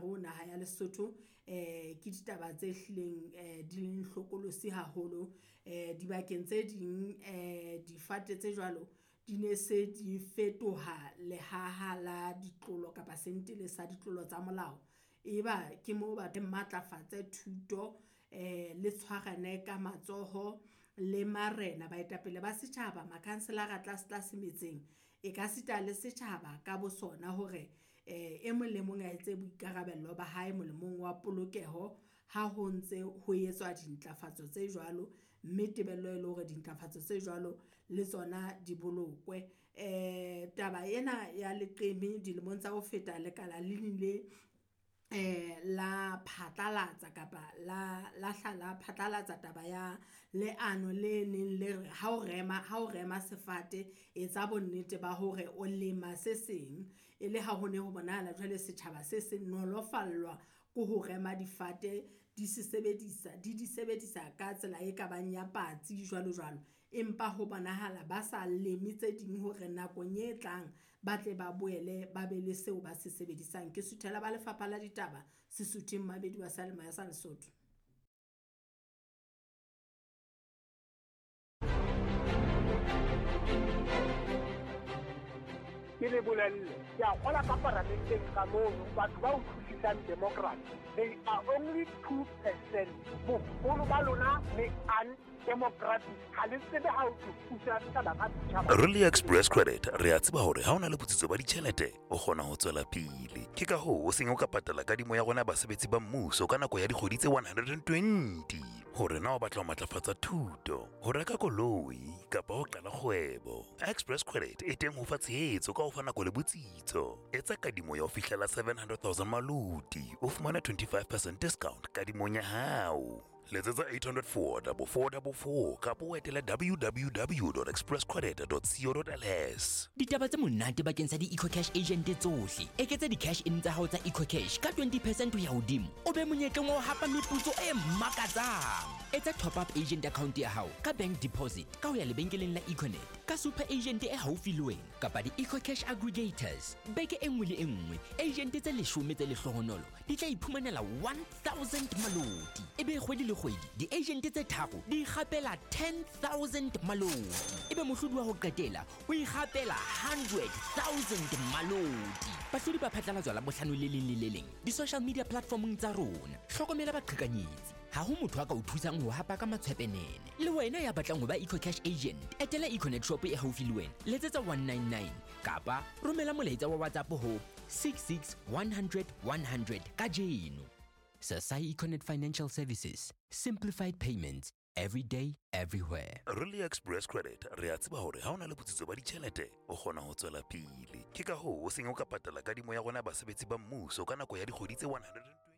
hare ho naha ya Lesotho. Ke ditaba tse hlileng di leng hlokolosi haholo. Dibakeng tse ding difate tse jwalo di ne se di fetoha lehaha la ditlolo kapa sentele sa ditlolo tsa molao. Eba ke moo ba matlafatse thuto, le tshwarane ka matsoho le marena, baetapele ba setjhaba, makhanselara tlase tlase metseng. E ka sita le setjhaba ka bo sona hore e mong le mong a etse boikarabello ba hae molemong wa polokeho ha ho ntse ho etswa dintlafatso tse jwalo, mme tebello e le hore dintlafatso tse jwalo le tsona di bolokwe. Taba ena ya leqeme dilemong tsa ho feta lekala le nile la phatlalatsa kapa la hla la phatlalatsa taba ya leano le neng le re ha o rema sefate, etsa bonnete ba hore o lema se seng. E le ha ho ne ho bonahala jwale setjhaba se se nolofallwa ke ho rema difate, di se sebedisa, di sebedisa ka tsela e kabang ya patsi jwalo jwalo. Empa ho bonahala ba sa leme tse ding hore nakong e tlang ba tle ba boele ba be le seo ba se sebedisang. Ke suthela ba lefapha la ditaba Sesuthing Mabedi wa Seyalemoya sa Lesotho. Ke le bolelle, ke a kgola ka paramenteng ka mono, batho ba utlwisisang democracy, they are only 2%. Boholo ba lona le undemocratic, ha le tsebe ha ho thusa setjhaba ka setjhaba. Really Express Credit, re a tseba hore ha o na le botsitso ba ditjhelete, o kgona ho tswela pele. Ke ka hoo o seng o ka patala kadimo ya rona basebetsi ba mmuso ka nako ya dikgwedi tse 120. Hore na o batla ho matlafatsa thuto, ho reka koloi kapa ho qala kgwebo. Express Credit e teng ho fa tshehetso ka ho fa nako le botsitso. Etsa kadimo ya ho fihlela 700,000 maloti, o fumane 25% discount kadimong ya hao. Letsetsa 804 4444 kapa o etele www.expresscredit.co.ls. Ditaba tse monate bakeng sa di-EcoCash agent tsohle. Eketsa di-cash in tsa hao tsa EcoCash ka 20% ho ya hodimo, o be monyetleng wa ho hapa meputso e makatsang. Etsa top up agent account ya hao ka bank deposit ka ho ya lebenkeleng la Econet, ka super agent e haufi le wena kapa di-EcoCash aggregators. Beke e nngwe le e nngwe, agent tse 10 tse lehlohonolo di tla iphumanela 1000 maloti. Ebe kgwedi le kgwedi di-agent tse 3 di ikgapela 10,000 maloti. Ebe mohlodi wa ho qetela o ikgapela 100,000 maloti. Bahlodi ba phatlalatswa la bohlano le leng le le leng di-social media platformong tsa rona. Hlokomela baqhekanyetsi. Ha ho motho a ka o thusang ho hapa ka matshwepenene. Le wena ya batlang ho ba EcoCash agent, etela Econet shop e haufi le wena, letsetsa 199 kapa romela molaetsa wa WhatsApp ho 66 100 100 kajeno. Sasai Econet Financial Services, simplified payments every day, everywhere. Really Express Credit, re a tseba hore ha o na le botsitso ba ditjhelete, o kgona ho tswela pele. Ke ka hoo o seng o ka patala kadimo ya rona basebetsi ba mmuso ka nako ya dikgwedi tse 120.